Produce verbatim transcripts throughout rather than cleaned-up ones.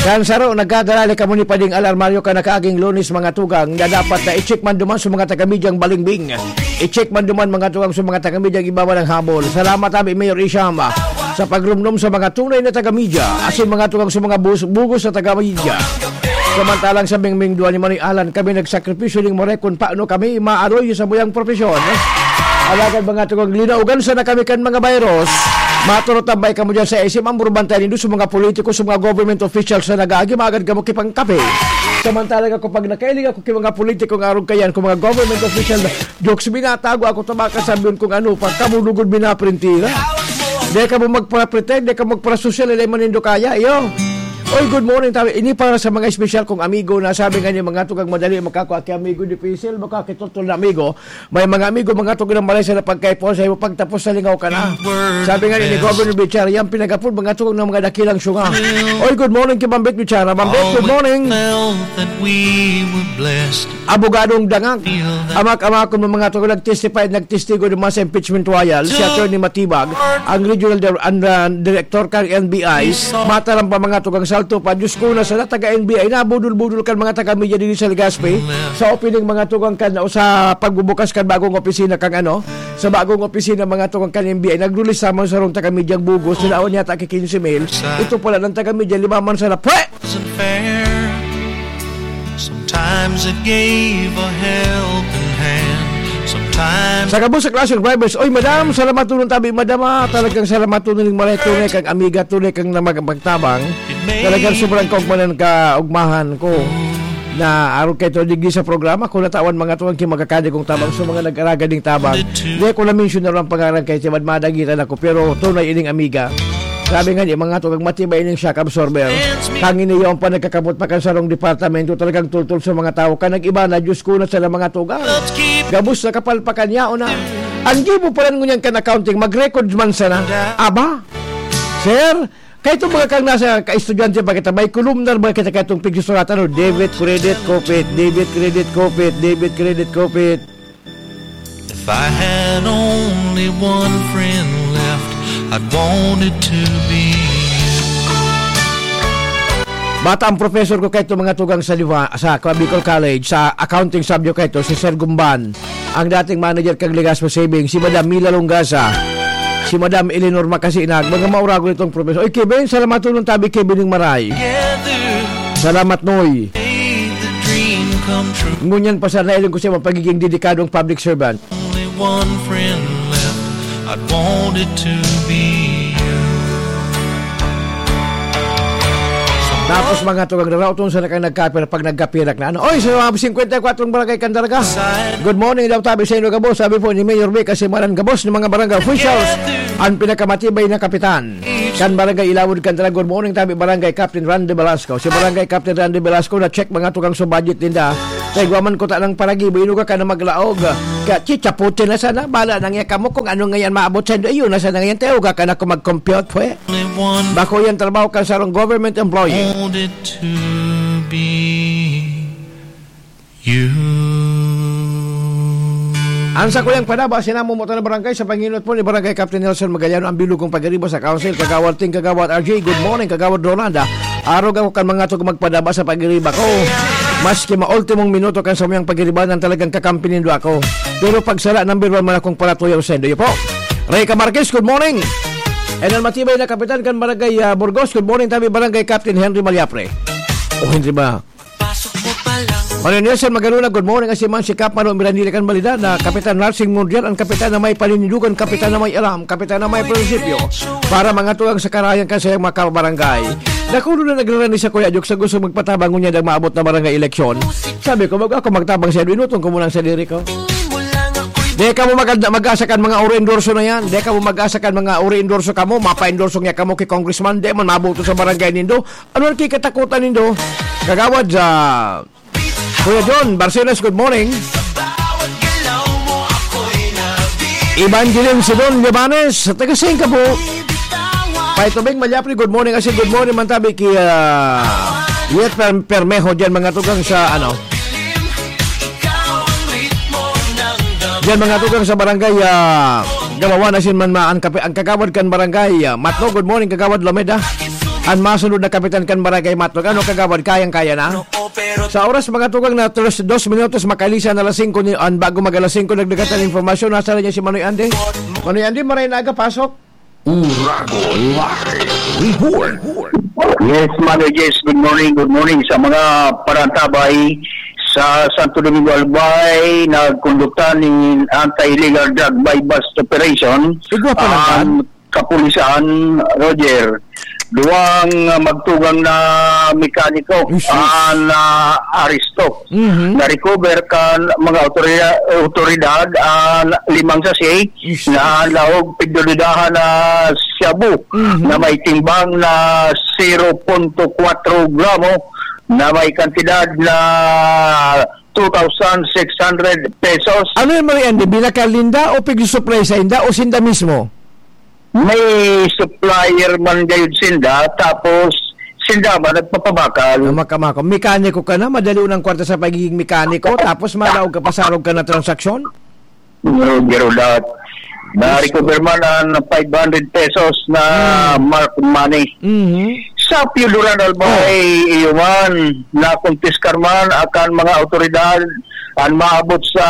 Kan saro, nagkadala ni kamo ni Pading Al Armario kan nakaaging Lunes, mga tugang, na dapat na i-check man duman sa mga taga-medyang balingbing. I-check man duman, mga tugang, sa mga taga-medyang ibabalang habol. Salamat, abi, Mayor Isham, sa pagrumdom sa mga tunay na taga-medya, asin mga tugang sa mga bus-, bugos na taga-medya. Samantalang sa Mingming Duwa ni Manoy Alan, kami nagsakripisyo ning maray kun paano kami maaroy sa buyang propesyon. Alagad, mga tugang, linaogan sana kami kan mga virus. Maturutambay kamo dyan sa S M, ang burbantay nindo sa mga politiko, sa mga government officials na nag-aagi, magad kamo kipangkape. Samantalang ako, pag nakailing ako kay mga politiko nga arog kayan, kung mga government official na, jokes, binatago ako, tabaka sabihin kung ano pa, kamo lugod binaprintira. Di kamo magpara-pretend, di kamo magpara-social, ilay man nindo kaya, iyo. Oy, good morning, tabi. Ini para sa mga espesyal kong amigo na sabi nga ni mga tugang madali makakua ki amigo, dipisil makakitutol na amigo. May mga amigo, mga tugang na malay sa napagkaipuhan sa imo, pagtapos sa lingaw ka na. Sabi nga ni Governor Bichar, yan pinagapod, mga tugang ng mga dakilang syunga. Oy, good morning kay Bambit Bichar. Bambit, good morning. Abogadong Dangag. Amak-amakon mo, mga tugang, nag-testify, nagtestigo naman sa impeachment trial, si Attorney Matibag, ang regional dir-, ang, ah, director kan N B I, mataram pa, mga tugang, salto pa. Diyos ko, na sana taga N B I, nabudol-budol kan mga taga-media dito sa Legazpi, sa opening, mga tugang, kan, o sa pagbubukas kan bagong opisina kang ano, sa bagong opisina, mga tugang, kan N B I, naglulis sa mga sarong taga-media ang bugos, sila yata ki quince mil. Ito pala ng taga-media, lima man sana. Pwe! Wasn't fair. Sometimes it gave a helping hand. Sometimes Sa gabos sa klaseng drivers, oy, madam, salamat tulong tabi, madam, ah. Talagang salamat tulong ning maray, tunay kang amiga, tunay kang na mag-, magtabang. Talagang sobrang kaugmanan ka, ugmahan ko na arog kaito digdi sa programa ko, natawan mga tuwang ki magkakadi kong tabang sa mga nag-araga ding tabang. Di ko na-mention na lang pangalan kay Timad, madagitan ako, pero tunay ining amiga. Sabi nga ni mga tugang, matibay ining shock absorber. Kang ini yaon pa nagkakabot pa kan sarong departamento, talagang tultol sa mga tawo. Kan nag-iba na, Diyos ko na sana mga tugang. Gabos na kapalpakan yaon na. Ang gibo pa rin ngunyan kan accounting, mag-record man sana. Aba? Sir, kaito mga kang nasa ka-estudyante pa kita, may kolumnar ba kita kaitong pigsusuratan, no? Debit, credit, kopit, debit, credit, kopit, debit, credit, kopit. If I had only one friend left, I'd want it to be you. Bata ang professor ko kaito mga tugang sa Liwa, sa Bicol College, sa accounting subject kaito, si Sir Gumban, ang dating manager kang Legazpi Savings, si Madam Mila Longasa, si Madam Eleanor Macasinag, mga mauragon itong professor. Oy, Kevin, salamat tulong tabi, Kevin ng Maray. Together, Salamat, Noy. Made the dream come true. Ngunyan pa sana, iling ko siya, pagiging dedikadong public servant. Only one friend left, I'd want it to be you. Tapos mga tugang, naraoton sa nakang nagkapira pag nagkapirak na ano. Oy, sa mga singkwenta y kwatro barangay Candaraga. Good morning daw tabi sa inyo, gabos. Sabi po ni Mayor Vic, kasi maran gabos ng mga barangay officials. Ang pinakamatibay na kapitan. Kan Barangay Ilawod, Candaraga, good morning tabi, Barangay Captain Randy Velasco. Si Barangay Captain Randy Velasco na-check mga tugang sa budget ninda. Kay guwa man ko ta ng paragibo, inuga ka na maglaog. Kaya chichaputin na sana, bala nang iya kamo kung ano ngayon maabot sa indo. Iyo na sana ngayon, tayo ka na kung mag-compute, pwe. Bako yan trabaho kan sarong government employee. Want it to be you. Ang sakuyang padaba, sinamo mo ta na barangay sa panginot po ni Barangay Captain Nelson Magallano, ang bilog kong pagiriba sa council, Kagawad Ting, Kagawad R J, good morning, Kagawad Rolanda. Arog ako kan mga tug magpadaba sa pagiriba ko. Maski maultimong minuto kan samuyang pagiriba, nang talagang kakampi nindo ako. Pero pagsala, number one man akong palatuyaw sa indo po. Rey Camarquez, good morning. And ang matibay na kapitan kan Barangay, ah, Burgos, good morning, tabi Barangay Captain Henry Maliapre. O Henry ba? Pasok mo pa lang. Mario Nelson Magaluna, good morning. Asi man si Kap Mano Mirandila kan Balida na Kapitan Narsing Mundial, ang kapitan na may paninindugan, kapitan na may alam, kapitan na may prinsipyo. Para mga tugang sa karayan kan sayang mga kabarangay. Nakulo na nagrarani sa Kuya Jok sa gusto magpatabang ngunyan ang maabot na barangay eleksyon. Sabi ko, bago ako magtabang sa inutong ko muna ang sadiri ko. Di ka mo maganda, mag-asa kan mga uri endorso na yan. Di ka mo mag-asa kan mga uri endorso ka mo. Mapa-endorso niya ka mo kay congressman. Di man mabuto sa barangay nindo. Ano ang kikatakutan nindo? Kagawad sa Kuya John Barcenas, good morning. Evangeline Sidon Llabanes, taga Singka po. Paitubing Malyapli, good morning. Kasi good morning man tabi kay, ah, Yet Per-, Permeho dyan, mga tugang sa, ano, dyan, mga tugang sa barangay, ah, Gabawan, asin man ma-, ang kape-, ang kagawad kan barangay, ah, Matno, good morning, Kagawad Lomeda. An masunod na kapitan kan Barangay Matnog. Ano, Kagawad, kayang-kaya na? Sa oras, mga tugang, na tres, dos minutos, makalisan na alas singko ni, an bago mag alas singko, nagdagat an impormasyon. Nasa na niya si Manoy Andy? Manoy Andy, maray na aga, pasok. Urago Live Report. Yes, Manoy Jess, good morning, good morning sa mga parantabay sa Santo Domingo Albay. Nagkondukta ni anti-illegal drug buy-bust operation Igwa pa lang ang kapulisan, Roger. Duwang, ah, magtugang na mekaniko Isus. ang, ah, aresto. Mhm. Na-recover kan mga otorya-, otoridad ang limang sachet Isus. na laog pigdududahan na shabu Mhm. na may timbang na zero punto kwatro gramo na may kantidad na two thousand six hundred pesos. Ano yan, Manoy Andy? Binakal ninda o pigsusuplay sa inda o sinda mismo? May supplier man gayud sinda, tapos sinda man nagpapabakal. Ah, makamako. Mekaniko ka na, madali unang kwarta sa pagiging mekaniko, tapos malaog ka pa sa arog ka na transaksyon? Roger Ulat. Na-recover man ang five hundred pesos na Hmm. marked money. Mhm. Sa Pio Duran Albay, Oh. iyo man, nakumpiskar man akan mga otoridad ang maabot sa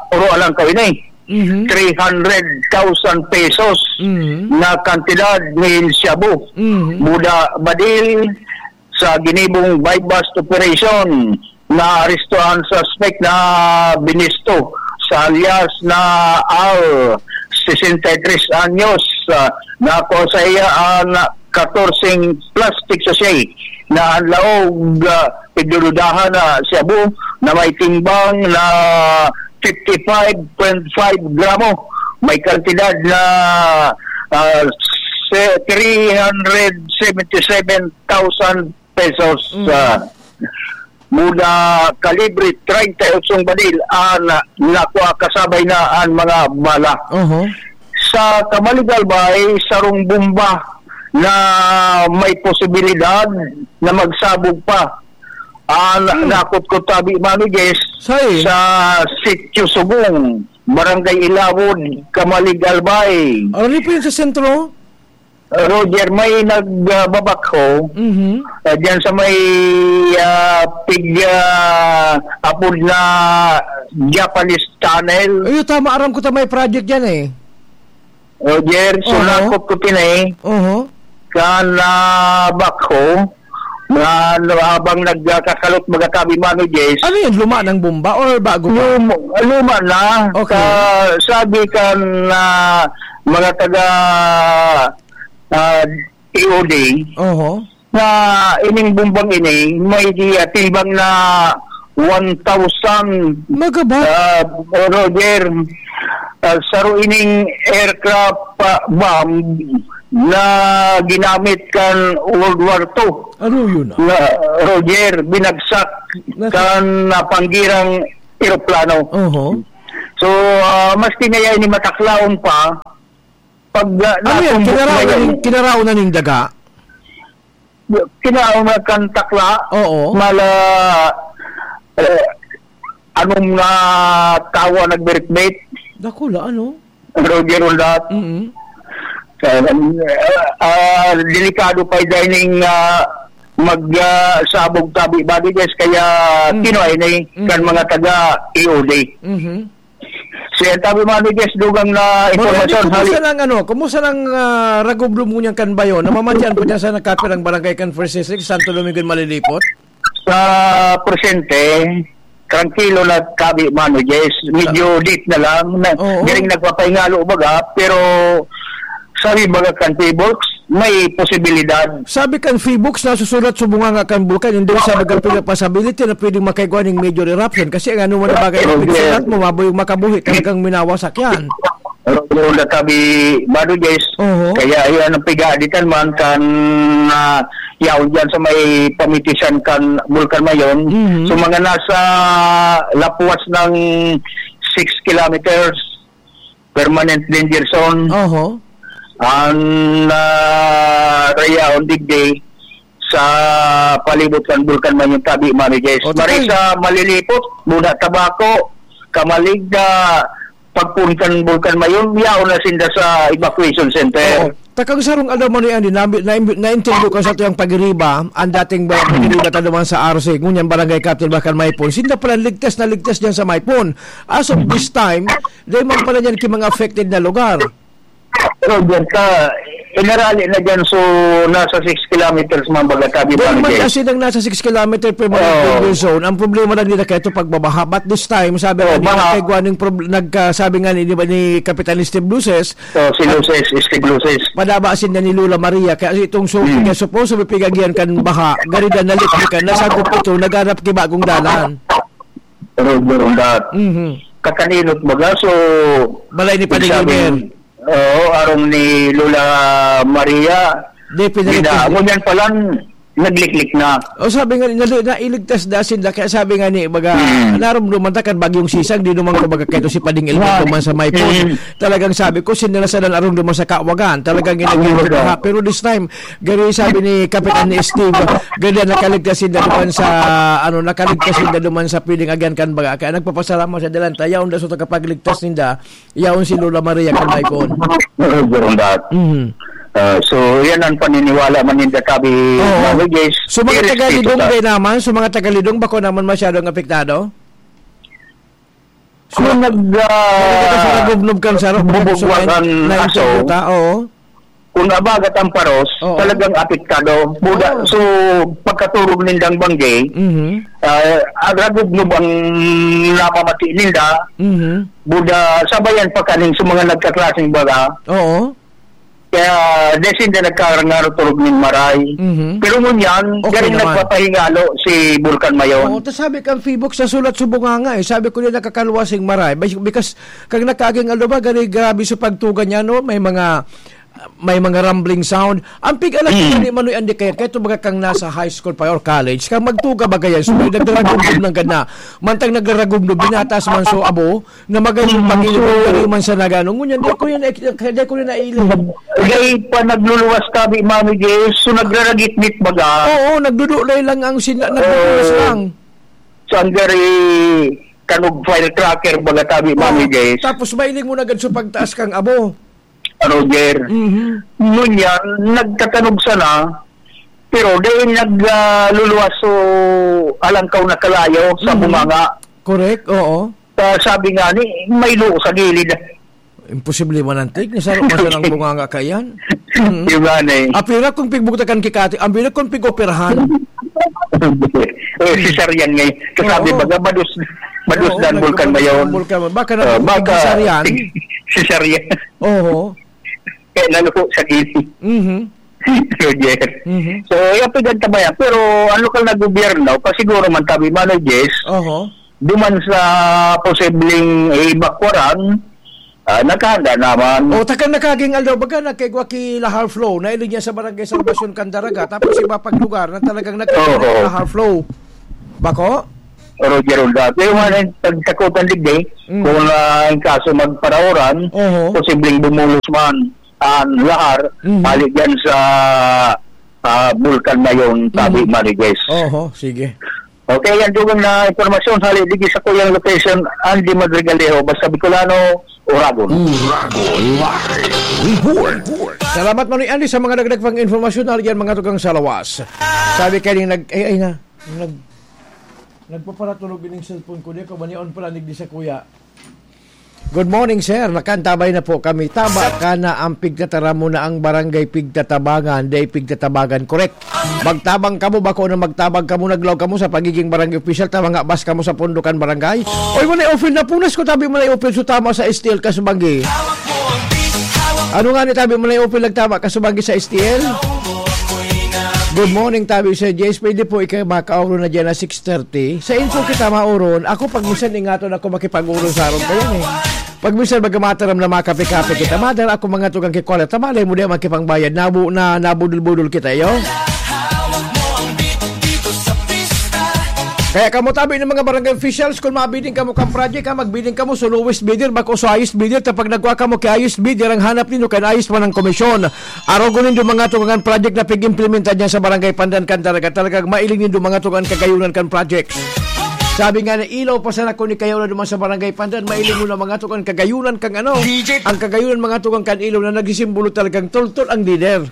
Oro Alangkaw ini. Mhm. Three hundred thousand pesos Mhm. na kantidad nin shabu. Mhm. Muda Badil sa ginibong buy-bust operation, naaresto ang suspect na binisto sa alias na Al, sesenta y tres anyos, ah, na kung sa iya ang katorse plastic sachet na ang laog, ah, pigdududahan na shabu na may timbang na fifty-five point five gramo. May kantidad na, ah, se-, three hundred seventy-seven thousand pesos, Mm. ah, muda kalibre treinta y ocho baril ang nakuha, kasabay na ang mga bala. Oho. Sa Camalig Albay, sarong bomba na may posibilidad na magsabog pa ang Hmm. nakutkot tabi, Mano Jess, Sain? sa Sitio Sugong, Barangay Ilawod, Camalig Albay. Ano po yun sa sentro? Roger, may nagbabakho, Mhm. ah, diyan sa may, ah, pig, ah, apod na Japanese Tunnel. Ay, tama. Aram ko ta may project dyan eh. Roger, so Oho. nakot ko tinay Oho. kan, ah, bakho na, ano, habang nagkakalot magkatabi, Mano Jess. Ano yun? Luma ng bomba or bago pa? Lum-, luma na. Okay. Sa, sabi kan, ah, mga taga, ah, T O D, Oho. na ining bombang ini, may di, ah, timbang na one thousand, Magabat? ah, Roger, ah, saro ining aircraft, ah, bomb na ginamit kan World War Two. Ano yun, ah? Na, Roger, binagsak Nasa- kan napanggirang eroplano. Oho. So, ah, maski ngaya ini mataklaon pa, pag, ah, Ano yan? natumbok Kinaraon na na yan. ning, kinaraon na ning daga? Kinaraon na kan takla. Oo. Mala, eh, anong, ah, tawa nagbiritbit? Dakula, ano? Roger Rondat. Mm-mm. Ah, ah, delikado pa dining, ah, mag, ah, sabog tabi, body guys, kaya Mm. kinuha ini Mm. kan mga taga E O D. Mhm. Siya, tabi, mga Miguel, dugang na Manoy Andy, impormasyon, kumusta hali- nang, ano, kumusta nang, ah, ragubdom mo niyan kan Bayon? Namamatian po dyan sa nagkapirang barangay kan First District, Santo Domingo, Malilipot? Sa presente, trangkilo na tabi, Mano Jess. Medyo Ah. deep na lang. Na, Oo. galing nagpapahingalo baga, pero sabi baga kan Pibox, may posibilidad. Sabi kan Pibox, nasusulat sa bunganga kan bulkan, hindi sa baga possibility na pwedeng makaigwa ning major eruption. Kasi ang ano man ang bagay na Okay. pinsulat mo, mabuhay makabuhi, talagang minawasak yan. Pero natabi, Mano Jess, Oo. kaya iyan ang pigaditan man kan, ah, yaon dyan sa may pamitisan kan Bulkan Mayon. Mhm. So, mga nasa lapwas ng six kilometers, permanent danger zone. Oho. Ang, ah, rayaon digdi sa palibot kan Bulkan Mayon tabi, Mano Jess. O, Maray total. Sa Malilipot, Muna Tabaco, Camalig, ah, pagpun kan Bulkan Mayon, yaon na sinda sa evacuation center. Oo. Takang sarong aldaw man yan, na, na, nainterview ko sa tuyang pagiriba, ang dating ba-, pagiriba ta duman sa R C, ngunyan barangay captain ba kan Maipon. Sinda pala ligtas na ligtas dyan sa Maipon. As of this time, dahil man pala yan ki mga affected na lugar. Pero dyan sa, inarali na dyan, so nasa six kilometers man baga tabi Dahil man barangay. Kasi nang nasa six kilometer per mga Oo. Danger zone, ang problema lang nila kaya ito pagbabaha. But this time, sabi Oo, nga nila, baha. Kay Guan yung prob-, nagka-, sabi nga ni, di ba, ni Kapitan Steve Luces, So, si Luces, Steve Luces. Padaba sinda ni Lola Maria, kaya itong suki Hmm. kaya supposed to be pigagian kan baha, garida na liklikan, nasagop ito, naghanap ki bagong dalan. Pero doon dat. Mhm. Kakaninot baga, so, Balay ni Padre sabi, Gilbert. Oo, arong ni Lola Maria, Di, pinalik gina-, ko. Ngunyan palang nagliklik na. O, sabi nga ni, nali-, nailigtas na sinda. Kaya sabi nga ni, baga, Hmm. narumduman ta kan bagyong sisang, di naman ko baga kaito si Pading Elmer Wow. duman sa may phone. Hmm. Talagang sabi ko, sinalasalan arong duman sa kawagan. Talagang ginagawa Wow. Pero this time, gari sabi ni Kapitan ni Steve, ganda nakaligtas sinda duman sa, ano, nakaligtas sinda duman sa piling agyan kan baga. Kaya nagpapasalamat sa dalan. Tayaw, daso ta kapagligtas ninda. Yaon si Lola Maria kan Maipon. Doon dat. Mhm. Ah, so, yan ang paniniwala man ninda tabi Oo. Mami Jess. So, mga Irespeto tagalidong ta. Din naman, so mga tagalidong bako naman masyadong apektado? So, Kung nag, ah, mga taga-Saragubnob kan Sarap, baka gusto bubugwakan na, na aso, interview ta, oo. Kung abagat ang paros, Oo. talagang apektado. Buda, Oo. so, pagkaturog nindang bangge, Mhm. ah, Aragubnob ang namamati ninda, Mhm. Buda, sabayan pa kaning sa mga nagkaklaseng baga. Oo. Kaya, desin na nagkarangarot-turog ning maray. Mhm. Pero ngunyan, Okay galing naman. Nagpapahingalo si Bulkan Mayon. Oo, tas sabi kang Fibok sa sulat subong nga nga eh. Sabi ko niya nakakalwa sing maray. Bay-, because, kag nakaging ano ba, gani grabe sa pagtugan niya, no? May mga, may mga rumbling sound. Ang pig-alam ko Mm. ni Manoy Andy kaya, kaya ito baga kang nasa high school pa or college, kang magtuga ba kaya, so may nagraragumdum ng gana. Mantang nagraragumdum, binatas man so abo, na magayong Mm, pag-inom, so, kariman sa nagano. Ngunyan, di ko yun, di ko yun naiinom. Dahil pa nagluluwas tabi, Mami Jess, so nagraragitbit baga. Oo, nagdudulay lang ang sina-, nagdudulas Oo. lang. Sa anggari, kanog firecracker baga tabi, Oo. Mami Jess. Tapos mailing mo na agad sa pagtaas kang abo. Roger. Mhm. Ngunyan, nagtatanog sana, pero dahil nag, ah, luluwas so alangkaw na kalayo sa Mhm. bunganga. Correct, oo. Ah, sabi nga ni, may luo sa gilid. Imposible manantig, nasaro man sana ang bunganga kayan. Mhm. Di ba, ne? Apira kung pigbugtakan kikati, ang bila kung pig-operahan. Eh, cesarean ngayon. Kasabi Oo. baga, madus-, madus Oo, dan bulkan nagkabulkan ngayon. bulkan. Baka na Oh, baka cesarean. cesarean. Oo. Kaya naluko sa gilid. Mhm. Roger. Mhm. So, yung pigantamayan. Pero ang lokal na gobyerno, pasiguro man tabi, Mano Jess, Oho. duman sa posibleng evakuaran, ah, nakahanda naman. O, takang nakaging aldaw, baga, nagkaigwa ki Lahar Flow, nailig niya sa Barangay Salvacion, Candaraga, tapos iba pang lugar na talagang nagkaigwa Oo. Lahar Flow. Bako? Roger Ulda. Pero man, ang pagtakutan digdi, Mm. kung, ah, ang kaso magparaoran, Oho. posibleng bumulos man ang lahar, Mhm. hali dyan sa, ah, bulkan na yun, sabi Mhm. Mariguez. Oho, sige. Okay, yan dugang na impormasyon, hali digdi sa kuyang location, Andy Madrigalejo, basta Bicolano, Uragon. Uragon Live Report. Salamat, Manoy Andy, sa mga dagdag pang informasyon, hali yan mga tugang sa lawas. Sabi kayo nag-, ay, ay na. Nag-, nagpaparatunog ining cellphone ko, di ko ba ni on pala, nigdi sa kuya? Good morning, sir. Nakantabay na po kami. Taba ka na ang pigtataram mo na ang barangay pigtatabangan, day pigtatabangan. Correct. Magtabang kamo, bako na magtabang kamo, naglaw kamo sa pagiging barangay official, tama nga, bas kamo sa pundukan barangay. Oy, manay open na punas ko, tabi manay open, so tama sa S T L, kasubanggi. Ano nga ni tabi manay open, nagtama, kasubanggi sa S T L? Good morning, tabi sa Jace. Pwede po ikaw makauro na dyan na six thirty. Sa info kita mauron. Ako, pag minsan ingaton ako makipag-uron sa aron kayo eh. Pag minsan magkamataram na makape-kape kita, madara ako mga tugang kikuwala. Tamalay mo di makipangbayad. Nabu-, na, nabudol-budol kita, yo. Kaya kamo tabi ng mga barangay officials, kung mabiling kamo kang project, ha, magbiling kamo sa lowest bidder, bako sa highest bidder. Tapag nagkuha kamo kay highest bidder, ang hanap ninyo kan highest man ang komisyon. Arogon nindo mga tugangan project na pig-implementa dyan sa Barangay Pandan, Candaraga. Talagang mailing nindo mga tugangan kagayunan kan project. Sabi nga na ilaw pa sana kung ikayaw na duman sa Barangay Pandan, mailing mo na mga tugang kagayunan kang ano, ang kagayunan mga tugang kan ilaw na nagsisimbolo talagang toltol ang lider.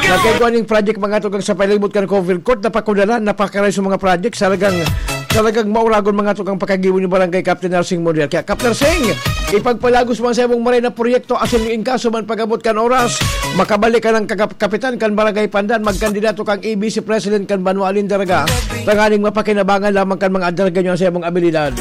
Nagkagwa ning project mga tugang sa palibot kan covered court, napakudalan, napakaray sa mga project, talagang talagang mauragon mga tugang pakagibo ni Barangay Captain Narsing Muriel. Kaya Captain Sing, ipagpalagos mo sa imong maray na proyekto asin yung inkaso man pag-abot kan oras, makabalik ka ng kagap- kapitan kan Barangay Pandan, magkandidato kang A B C President kan Banwa Alindaraga, tanganing mapakinabangan lamang kan mga adarga nyo sa imong abilidad.